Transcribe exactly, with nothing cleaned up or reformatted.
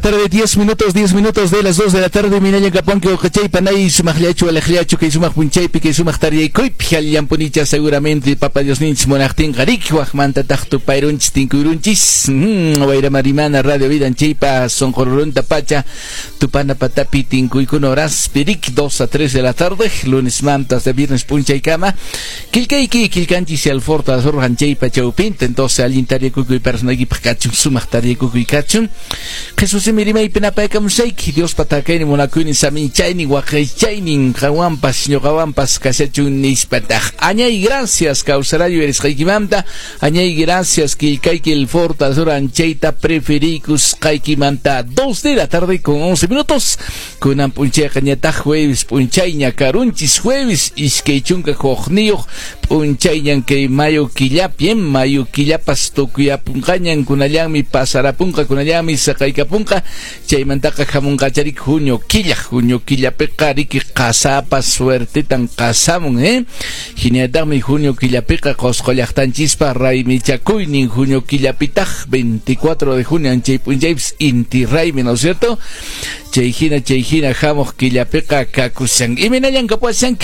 Tarde, diez minutos, diez minutos de las dos de la tarde, minalla kaponki uqachaypa nay sumaqllachu alaqllachu kay sumaq punchaypi kay sumaq taryaykuypi allanpunicha seguramente papa Diosninchis munaqtinqa riki waqmantataq tupayrunchis tinkuyrunchis mm, Wayramarimana Radio Vida anchaypa sonqorurunta pacha tupana patapi tinkuykuna horaspi riki dos a tres de la tarde, lunes manta hasta viernes punchaykama killkayki killkanchis alforta anchaypa chawpinta. Entonces allin taryaykukuy personaykipaq kachun sumaq taryaykukuy kachun. Jesús rimaypi napaykamusayki Dios patakaynin munakuynin saminchaynin waqaychaynin qanwanpas ñuqawanpas kashachun nispataq. Añay gracias kawsarayu erisqaykimanta, añay gracias killkayki el forta anchayta preferiykusqaykimanta. Dos de la tarde con once minutos kunan p'unchayqa ñataq jueves p'unchayña karunchis jueves iskay chunka hukniyuq p'unchayñan kay mayo killapi, mayo killapas tukuyapunqañan kunallanmi pasarapunqa kunallanmi saqaykapunqa chaymantaqa hamunqacharik junio killa, junio killapiqa riki qasapas suertetan qasamun, eh hinallataqmi junio killapiqa Qosqo llaqtanchispa raymichakuynin junio killapitaq veinticuatro de junio anchay p'unchaypis inti raymi, ¿no es cierto? Chay hina chay hina hamuq killapiqa kakushan imaynallan kapuashan.